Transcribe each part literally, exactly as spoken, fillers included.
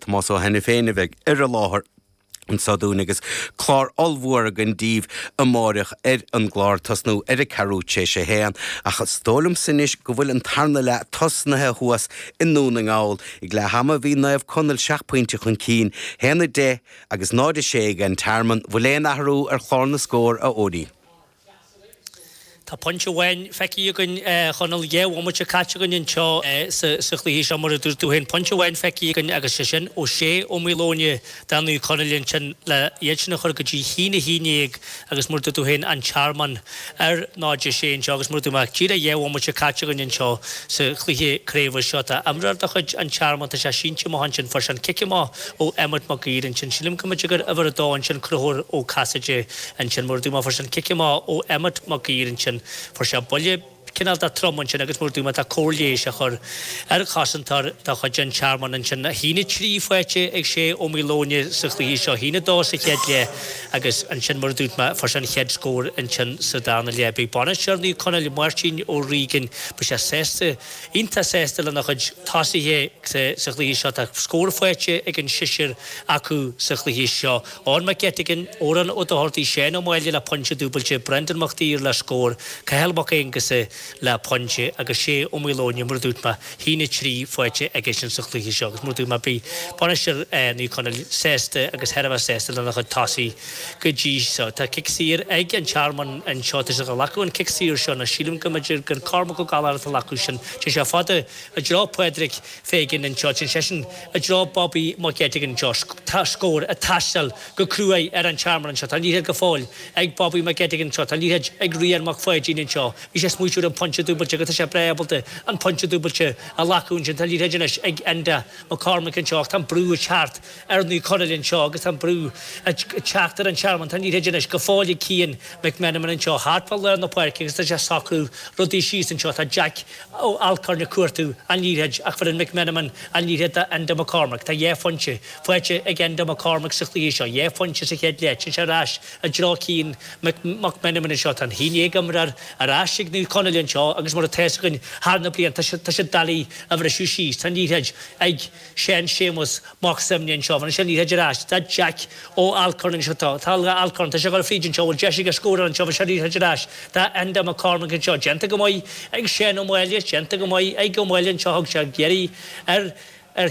Tomás Ó hAiniféin a bheidh ar an láthair anseo dúinn agus clár ollmhór againn daoibh amáireach ar an gclár tosnú ar a ceathrú tar éis a haon ach is dóigh liomsa anois go bhfuil an tarna leath tosnaithe thuas i nDún na nGall. Ag leath ama bhí Naomh Conaill seacht pointe chun cinn, haon a deich agus náid a sé ag an Tearmann, bhfuil aon athrú ar chlár na scór a Eoiní? Tá pointe amháin feicthe againn Chonaill dhá bhomaite caite againn anseo sa chluiche seo mar a dúirt tú féin. Pointe amháin feicthe againn agus sé sin ó Shé Ó Maoileoin do Naomh Conaill ansin le iad sin a chur go dtí haon a haon déag agus mar a dúirt tú féin an Tearmann ar náid a sé anseo agus mar a dúirt mé díreach dhá bhomaite caite againn anseo sa chluiche craoibhe seo. Tá imreoir de chuid an Tearmann tá sé sínte amach ansin fuair sé an cic amach ó Emmet Mac Uidhir ansin. Sílim go mb'fhéidir gur uimhir a dó ansin Conchúr Ó Casaide ansin mar a dúirt mé fuair sé an cic amach ó Emmet Mac Uidhir ansin. Fuair sé buille cineál de trom ansin agus mar a dúirt mé tá cóir leighis á chur ar chosantóir de chuid an Tearmann ansin. A haon a trí faighte ag Shé Ó Maoileoin sa chluiche seo, a haon a dó sa chéad leath agus ansin mar a dúirt mé fuair sé an chéad scór ansin sa darna leath. Beidh bainisteoir Naomh Conaill Máirtín Ó Riagáin, beidh sé sásta, iontach sásta lena chuid tosaithe sa chluiche seo. Tá scór faighte ag an seisear acu sa chluiche seo. Eoin McGettigan, Odhrán Ó Dochartaigh, Seán Ó Máille le pointe dúbailte, Brendan Mac Uidhir le scór, Cathal Mac Aonghusa le pointe agus Shé Ó Maoileoin mar a dúirt mé, haon a trí faighte aigesean sa chluiche seo agus mar a dúirt mé beidh bainisteoir Naomh Conaill sásta agus thar a bheith sásta lena chuid tosaí go dtí seo. Tá cic saor ag an Tearmann anseo, tá siad ag glacadh an cic saor seo nó sílim go mb'fhéidir gur Cormac Ó Gallchóir atá ag glacadh sin. Téann sé fada i dtreo Pádraig Fagan anseo, téann seisean i dtreo Bobby McGettigan anseo. Tá scór ag teastáil go cruaidh ar an Tearmann anseo. Tá an liathróid go fóill ag Bobby McGettigan anseo. Tá an liathróid ag Rian Mac Pháidín anseo. Bhí sé ag smaoitiú ar an pointe dúbailte agus tá sé breá ábalta an pointe dúbailte a ghlacadh ansin. Tá an liathróid anois ag Enda McCormick anseo ach tá an brú ag teacht ar Naomh Conaill anseo agus tá an brú ag teacht ar an Tearmann. Tá an liathróid anois go fóill ag Cian McMenamin anseo thart fá lár na páirce agus tá sé ag socrú rudaí síos anseo. Tá Jack Ó Alcorn ag cuartú an liathróid ach bheireann McMenamin an liathróid do Enda McCormick. Tá dhá phointe faighte ag Enda McCormick sa chluiche seo, dhá phointe sa chéad leath. Téann sé ar ais i dtreo Cian McMenamin anseo. Tá an haon déag imreoir ar ais ag Naomh Conaill anseo agus mar atá fhios againn thar na blianta tá siad doiligh a bhriseadh síos. Tá an liathróid ag Seán Séamus Mac Suibhne anseo. Bheireann sé an liathróid ar ais do Jack Ó Alcorn anseo. Tá tá Alcorn tá sé ag dul fríd anseo. Bhfuil deis aige scóráil anseo? Bheireann sé an liathróid ar ais do Enda McCormick anseo. Déanta go maith ag Seán Ó Máille, déanta go maith ag Ó Máille anseo. Thug sé iarraidh ar ar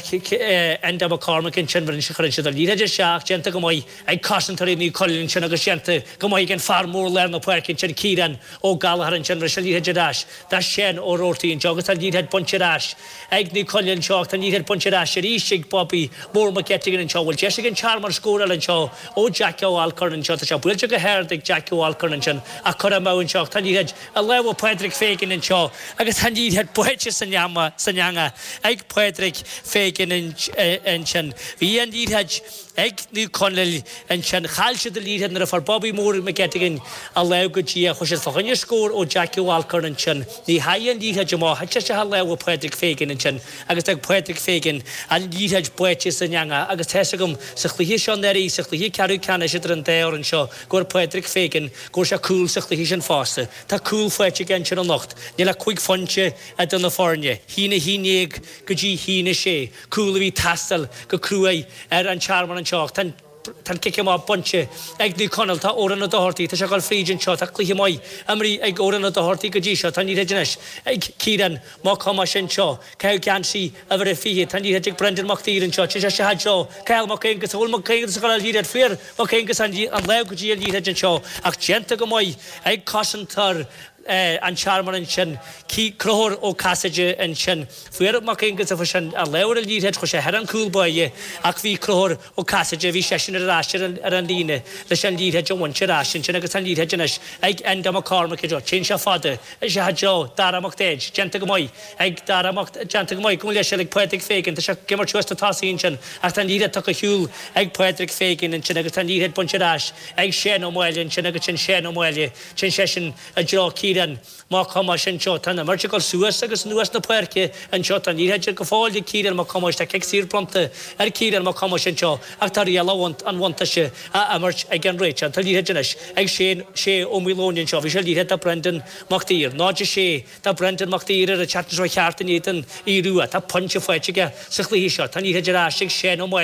Enda McCormick ansin bheireann sé chuireann siad an liathróid isteach, déanta go maith ag cosantóirí Naomh Conaill ansin agus déanta go maith ag an fear mór lár na páirce ansin Ciarán Ó Gallchóir ansin bheireann sé an liathróid ar ais do Shane Ó Roarty anseo agus tá an liathróid bainte ar ais ag Naomh Conaill anseo ach tá an liathróid bainte ar ais arís ag Bobby Mór McGettigan anseo. Bhfuil deis ag an Tearmann scóráil anseo ó Jack Ó Alcorn anseo. Tá sé buailte go hard ag Jack Ó Alcorn ansin ach curtha amú anseo ach tá an liathróid i lámha Pádraig Fagan anseo agus tá an liathróid báite san eangach ag Pádraig Fagan ansin. Bhí an liathróid ag Naomh Conaill ansin. Chaill siad an liathróid nuair a fuair Bobby Mór McGettigan a lámh go dtí é. Chuaigh siad fá choinne scór ó Jackie Ó Alcorn ansin. Ní theachaigh an liathróid amach. Thit sé isteach i lámha Pádraig Fagan ansin agus d'fhág Pádraig Fagan an liathróid báite san eangach agus tá fhios agam sa chluiche seo anuraidh, sa chluiche ceathrú ceannais idir an dá fhoireann seo, go bhfuair Pádraig Fagan, go bhfuair sé cúl sa chluiche sin fosta. Tá cúl faighte aige ansin anocht. Níl ach cúig phointe idir na foirne. Haon a haon déag go dtí haon a sé. Cúl a bhí ag teastáil go cruaidh ar an Tearmann anseo ach tá an tá an cic amach bainte ag Naomh Conaill. Tá Odhrán Ó Dochartaigh, tá sé ag dul fríd anseo. Tá cluiche maith imeartha ag Odhrán Ó Dochartaigh go dtí seo. Tá an liathróid anois ag Ciarán Mac Thomáis anseo. Caitheadh geansaí uimhir a fiche. Tá an liathróid ag Brendan Mac Uidhir anseo. Téann sé isteach i dtreo Cathal Mac Aonghusa. Bhfuil Mac Aonghusa ag dul ar liathróid? Fuair Mac Aonghusa an lámh go dtí an liathróid anseo ach déanta go maith ag cosantóir an Tearmann ansin. Conchúr Ó Casaide ansin. Fuair Mac Aonghusa fuair sé an lámh ar an liathróid, chuaigh sé thar an chúl báire ach bhí Conchúr Ó Casaide, bhí seisean ar ais ar an líne leis an liathróid a bhaint ar ais ansin agus an liathróid anois ag Enda McCormick anseo. Téann sé fada isteach i dtreo Dara Mac Daid. Déanta go maith ag Dara Mac, déanta go maith, gabh mo leithscéal, ag Pádraig Fagan. Tá sé ag imirt suas na tosaí ansin ach tá an liathróid tugtha ar shiúl ag Pádraig Fagan ansin agus tá an liathróid bainte ar ais ag Seán Ó Máille ansin agus sin Seán Ó Máille. Téann seisean i dtreo Ciarán Mac Thomáis anseo. Tá an imirt ag dul suas agus anuas na páirce anseo. Tá an liathróid go fóill ag Ciarán Mac Thomáis. Tá cic saor bronnta ar Ciarán Mac Thomáis anseo ach tá riail an bhuntáiste á imirt ag an réiteoir. Tá an liathróid anois ag Shane Sé Ó Maoileoin anseo. Bhí sé an liathróid do Brendan Mac Uidhir. Náid a sé do Brendan Mac Uidhir ar an tseachtain seo cheart in éadan Aodh Rua. Tá pointe faighte aige sa chluiche seo. Tá an liathróid ar ais ag Seán Ó Máille.